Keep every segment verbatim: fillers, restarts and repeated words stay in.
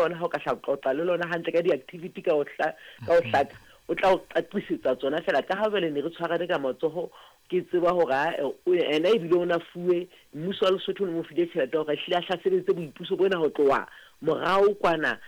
Lona ha o ka hla qoqa le lona hantle ka di-activity ka ho hla, ka ho hlaka, o tla o qaqisetsa tsona fela. Ka ha jwale ne re tshwarane ka matsoho, ke tseba hore ae ena ebile o na fuwe mmuso wa Lesotho, o ne mo file tjhelete hore ehlile a hlasebetse boipuso bona ho tloha morao kwana.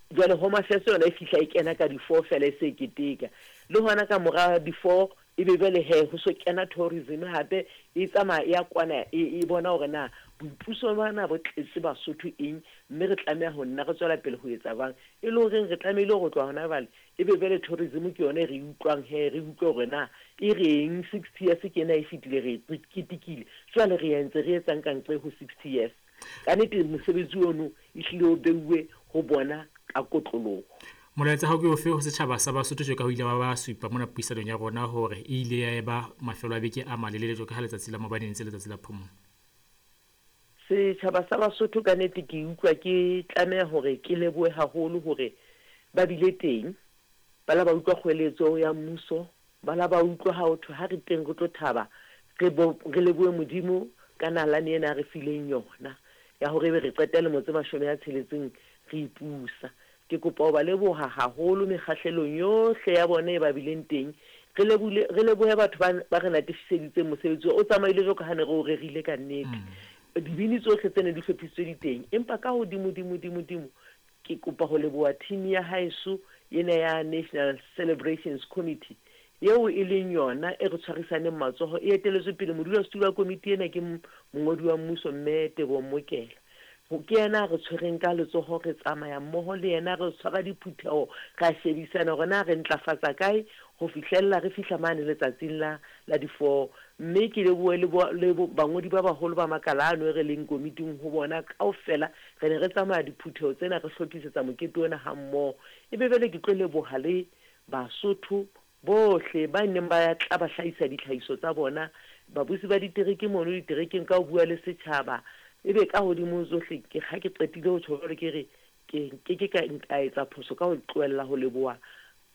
Jwale Home Affairs yona e fihla e kena ka di-four fela e se e keteka le hona ka mora di-four, ebe jwale he ho so kena tourism hape e tsamaya e ya kwana, e, e bona hore na boipuso bana bo tletse Basotho eng, mme re tlameha ho nna re tswela pele ho etsa jwang, e le horeng re tlamehile ho tloha hona jwale ebe jwale tourism ke yona e re utlwang he re utlwe hore na e reng. Sixty years ke ena e fetile, re e ketekile, jwale re entse re etsang ka ntle ho sixty years. Ka nnete mosebetsi ono ehlile o beuwe ho bona ka kotloloho. Molaetsa hao ke ofe ho setjhaba sa Basotho, tje ka ho ile ba ba supa mona puisanong ya rona hore e ile ya eba mafelo a beke a malelele jwalo ka ha letsatsi la maobane e ntse letsatsi la phomolo? Setjhaba sa Basotho, ka nnete ke utlwa ke tlameha hore ke lebohe haholo hore ba bile teng, ba la ba utlwa kgweletso ya mmuso, ba la ba utlwa ha ho thwe ha re teng re tlo thaba, re bo re lebohe Modimo ka nalane ena a re fileng yona ya hore ebe re qeta lemo tse mashome a tsheletseng re ipusa. Ke kopa ho ba leboha haholo mekgahlelong yohle ya bona e ba bileng teng. Re lebule re lebohe batho ba ba re natefiseditseng mosebetsi o tsamaile jwalo ka ha ne re o rerile ka nnete. Dibini tsohle tse ne di hlophisitswe di teng, empa ka hodimo dimo dimo dimo ke kopa ho leboha team ya haeso ena ya National Celebrations Committee, eo e leng yona e re tshwarisaneng matsoho, e eteletswe pele modulasetulo wa komiti ena ke mongodi wa mmuso, mme Teboho Mokela. Ke yena a re tshwereng ka letsoho, re tsamaya mmoho le yena, re tshwara diphutheho, ra shebisana hore na re ntlafatsa kae ho fihlella re fihla mane letsatsing la la di-four. Mme ke lebohe le le bangodi ba baholo ba makala ano e re leng komiting ho bona kaofela, re ne re tsamaya diphutheho tsena, re hlophisetsa mokete ona ha mmoho. Ebe jwale ke tlo leboha le Basotho bohle ba neng ba tla ba hlahisa ditlhahiso tsa bona, babusi ba ditereke mono diterekeng ka ho bua le setjhaba. Ebe ka hodimo ho tsohle, ke ha ke qetile ho tjho jwalo, ke re ke nke ke ka ka etsa phoso ka ho tlohella ho leboha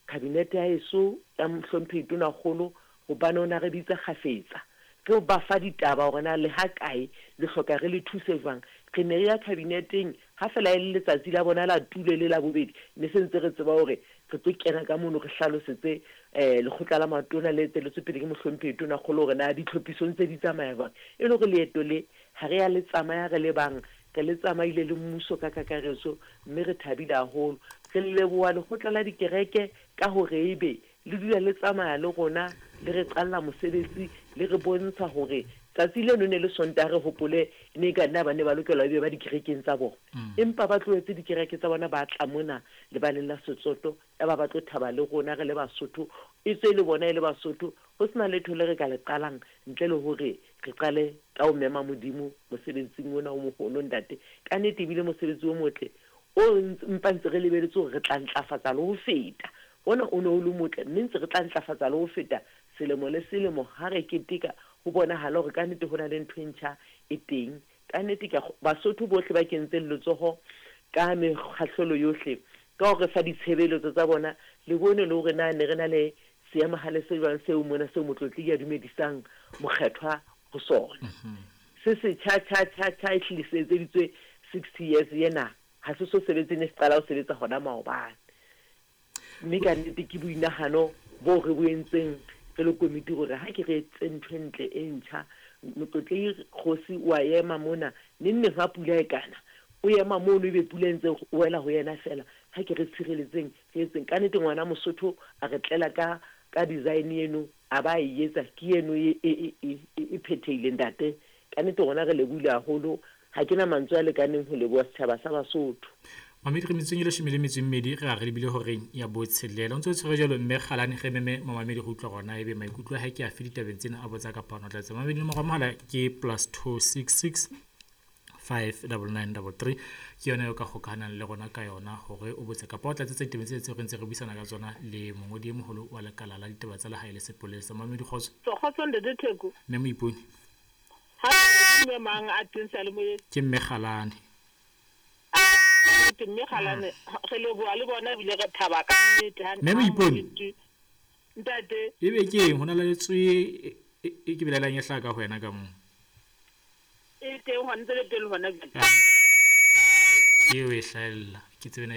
kabinete ya heso ya Mohlomphehi Tonakgolo, hobane o na re bitsa kgafetsa, re ba fa ditaba hore na le ha kae le hloka re le thuse jwang. Re ne re ya kabineteng ha fela e le letsatsi la bona la tulo le la bobedi, ne se ntse re tseba hore re tlo kena ka mono, re hlalosetse um lekgotla la matona le etelletswe pele ke Mohlomphehi Tonakgolo hore na ditlhophisong tse di tsamaya jwang, e le hore leeto le ha re ya le tsamaya re le bang, re le tsamaile le mmuso ka kakaretso, mme re thabile haholo. Re leboha lekgotla la dikereke ka hore ebe le dula le tsamaya le rona, le re qalla mosebetsi, le re bontsha hore tsatsi leno ne le Sontaha. Re hopole ne ka nna ba ne ba lokela ebe ba dikerekeng tsa bona, empa ba tlohetse dikereke tsa bona, ba tla mona lebaleng la Setsoto, ya ba ba tlo thaba le rona re le Basotho, e tswe le bona e le Basotho. Ho sena letho le re ka le qalang ntle le hore re qale ka ho mema Modimo mosebetsing ona o moholo. Ntate, ka nnete ebile mosebetsi o motle o mpa ntse re lebeletse hore re tla ntlafatsa le ho feta ona o ne o le motle, mme ntse re tla ntlafatsa le ho feta selemo le selemo ha re keteka, ho bonahala hore ka nnete ho na le ntho e ntjha e teng. Ka nnete ke Basotho bohle ba kentseng letsoho ka mekgahlelo yohle ka hore fa ditshebeletso tsa bona, le bone le hore na ne re na le seemahale se jwang seo mona seo motlotlehi a dumedisang mokgethwa ho sona, se se tjha tjha tjha tjha, ehlile se etseditswe sixty years ena, ha se so sebetse, ne se qala ho sebetsa hona maobane. Mme ka nnete ke boinahano bo re bo entseng re le komiti hore ha ke re etse ntho e ntle e ntjha. Motlotlehi kgosi wa ema mona neng neng ha pula e kana, o ema mono, ebe pula e ntse wela ho yena fela. Ha ke re tshireletseng, re etseng ka nnete. Ngwana Mosotho a re tlela ka ka design eno, a ba e etsa, ke eno e e e e phethehile. Ntate, ka nnete rona re lebohile haholo, ha ke na mantswe a lekaneng ho leboha setjhaba sa Basotho. Mamedi, re metsotsong e leshome le metso e mmedi re a re lebile horeng ya botshelela. O ntse o tshwere jwalo mme Kgalane, re meme mamamedi go utlwa gona ebe maikutlo a hae ke afe ditabeng tsena, a botsa kapa ona tlatsa. Mamedi, nomoro ya mohala ke plus two six six five double nine double three, ke yona eo ka kgokahanang le rona ka yona hore o botse kapa o tlatsetse ditabeng tse tseo re ntse re buisana ka tsona le mongodi e moholo wa lekala la ditaba tsa lehae le sepolesa. Mamedi, kgotso. Kgotso, ntate Theko. Mme Moipone. Ha ke mme mang a teng seyalemoyeng? Ke mme Kgalane. Nnete mme Kgalane, re leboha le bona ebile re thaba ka nnete ha Mme Moipone. Ntate. Ebe ke eng ho na le letswe e e ke belaelang e hlaha ka ho wena ka moo? E teng hona, ntse le teng hona jwale. Eo e hlahella ke tsebe na.